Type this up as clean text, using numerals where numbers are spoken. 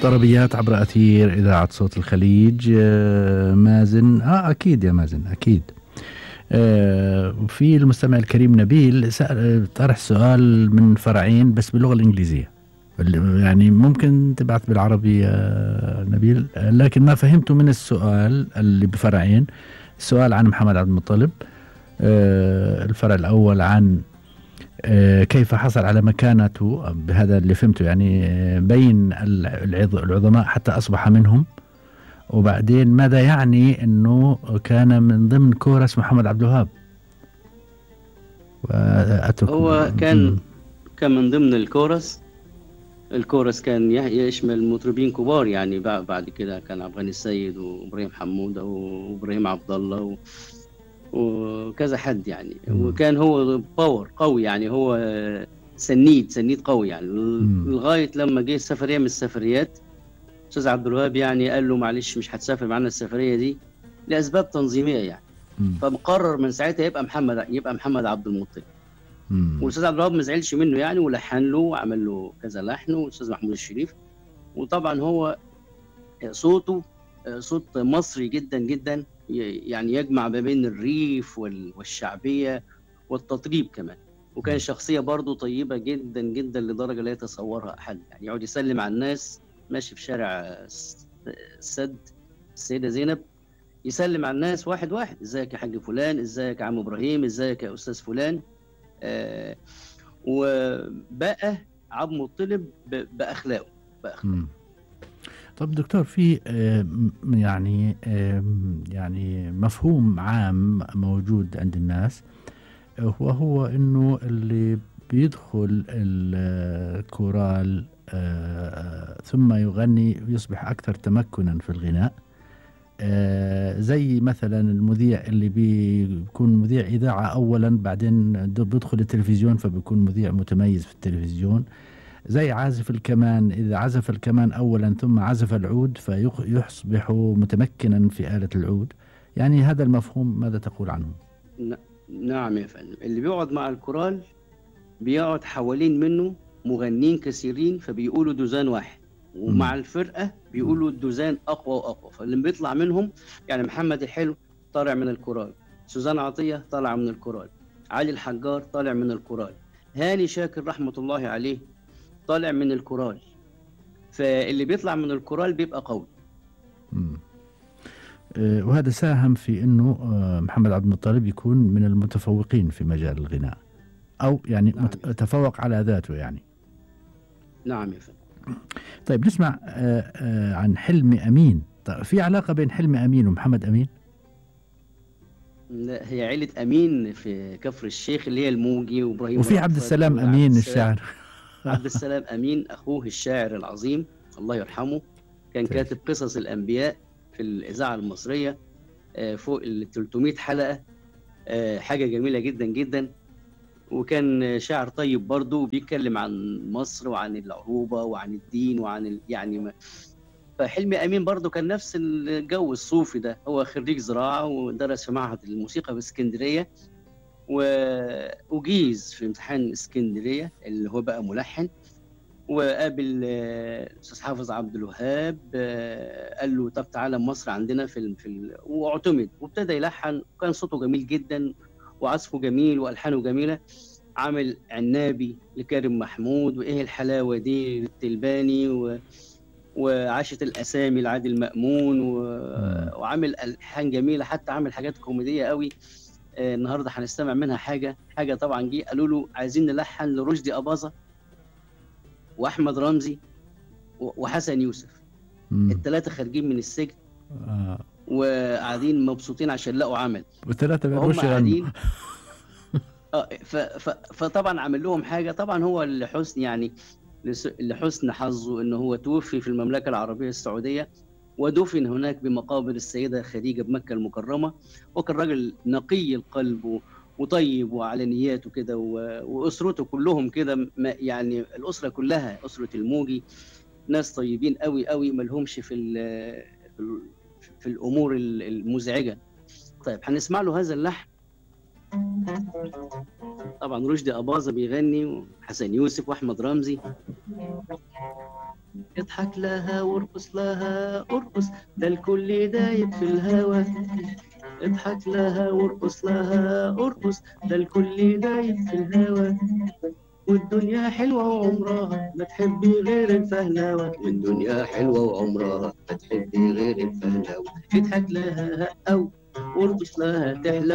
طربيات عبر أثير إذاعة صوت الخليج. مازن، أكيد يا مازن، أكيد. وفي المستمع الكريم نبيل سأل طرح سؤال من فرعين بس باللغة الإنجليزية، يعني ممكن تبعث بالعربي يا نبيل، لكن ما فهمته من السؤال اللي بفرعين. السؤال عن محمد عبد المطلب، الفرع الأول عن كيف حصل على مكانته، بهذا اللي فهمته يعني بين العظماء حتى أصبح منهم، وبعدين ماذا يعني أنه كان من ضمن كورس محمد عبد الوهاب. هو كان من ضمن الكورس كان يشمل مطربين كبار، يعني بعد كده كان عبد الغني السيد وإبراهيم حمودة وإبراهيم عبد الله وكذا حد يعني. وكان هو باور قوي، يعني هو سنيد قوي يعني. لغاية لما جه سفرية من السفريات، أستاذ عبد الوهاب يعني قال له معلش مش هتسافر معنا السفرية دي لأسباب تنظيمية يعني. فمقرر من ساعتها يبقى محمد عبد المطلب. والأستاذ عبد الوهاب ما زعلش منه يعني، ولحن له وعمل له كذا لحن، والأستاذ محمود الشريف. وطبعا هو صوته صوت مصري جدا جدا، يعني يجمع ما بين الريف والشعبية والتطريب كمان. وكان شخصية برضو طيبة جدا جدا لدرجة لا يتصورها أحد، يعني يقعد يسلم على الناس ماشي في شارع السيدة زينب، يسلم على الناس واحد واحد، ازيك يا حاج فلان، ازيك يا عم إبراهيم، ازيك يا أستاذ فلان. وبقى عبد المطلب بأخلاقه. طب دكتور، في يعني مفهوم عام موجود عند الناس، وهو انه اللي بيدخل الكورال ثم يغني يصبح اكثر تمكنا في الغناء، زي مثلا المذيع اللي بيكون مذيع اذاعه اولا، بعدين بيدخل التلفزيون فبيكون مذيع متميز في التلفزيون، زي عازف الكمان إذا عزف الكمان أولا ثم عزف العود فيصبح متمكنا في آلة العود. يعني هذا المفهوم ماذا تقول عنه؟ نعم يا فندم، اللي بيقعد مع الكورال بيقعد حوالين منه مغنين كثيرين فبيقولوا دوزان واحد، ومع الفرقة بيقولوا الدوزان أقوى وأقوى. فاللي بيطلع منهم يعني محمد الحلو طالع من الكورال، سوزان عطية طالع من الكورال، علي الحجار طالع من الكورال، هاني شاكر رحمة الله عليه طالع من الكورال. فاللي بيطلع من الكورال بيبقى قوي. وهذا ساهم في انه محمد عبد المطلب يكون من المتفوقين في مجال الغناء، او يعني نعم. تفوق على ذاته يعني. نعم يا فندم. طيب نسمع عن حلمي امين. طيب في علاقة بين حلمي امين ومحمد امين؟ لا، هي عيلة امين في كفر الشيخ اللي هي الموجي وابراهيم، وفي عبد السلام امين الشاعر. عبد السلام أمين أخوه الشاعر العظيم الله يرحمه، كان كاتب قصص الأنبياء في الإذاعة المصرية فوق 300 حلقة، حاجة جميلة جدا جدا. وكان شاعر طيب برضه، وبيتكلم عن مصر وعن العروبة وعن الدين وعن يعني فحلمي أمين برضه كان نفس الجو الصوفي ده. هو خريج زراعة ودرس في معهد الموسيقى باسكندرية، وجيز في امتحان اسكندريه اللي هو بقى ملحن. وقابل الاستاذ حافظ عبد الوهاب، قال له طب تعالى مصر عندنا واعتمد، وابتدى يلحن. وكان صوته جميل جدا وعزفه جميل والحانه جميله. عامل عنابي لكريم محمود، وايه الحلاوه دي للتلباني، وعاشت الاسامي لعادل مأمون، وعامل الحان جميله، حتى عامل حاجات كوميديه قوي. النهارده هنستمع منها حاجه طبعا. جه قالوا له عايزين نلحن لرشدي أباظة واحمد رمزي وحسن يوسف، الثلاثه خارجين من السجن وقاعدين مبسوطين عشان لقوا عمل، والثلاثه بيعرفوش قاعدين فطبعا عمل لهم حاجه. طبعا هو لحسن حظه ان هو توفي في المملكه العربيه السعوديه، ودفن هناك بمقابر السيدة خديجة بمكة المكرمة. وكان راجل نقي القلب وطيب وعلى نياته كده، وأسرته كلهم كده، يعني الأسرة كلها أسرة الموجي ناس طيبين قوي قوي، ملهمش في الأمور المزعجة. طيب هنسمع له هذا اللحن. طبعا رشدي أباظة بيغني، وحسن يوسف وأحمد رمزي. اضحك لها وارقص لها ارقص، ده الكل دايب في الهوى. اضحك لها وارقص لها ارقص، ده الكل دايب في الهوى. والدنيا حلوة وعمرها ما تحبي غير الفهلوة، والدنيا حلوة وعمرها ما تحبي غير الفهلوة. اضحك لها أو وارقص لها تحلو.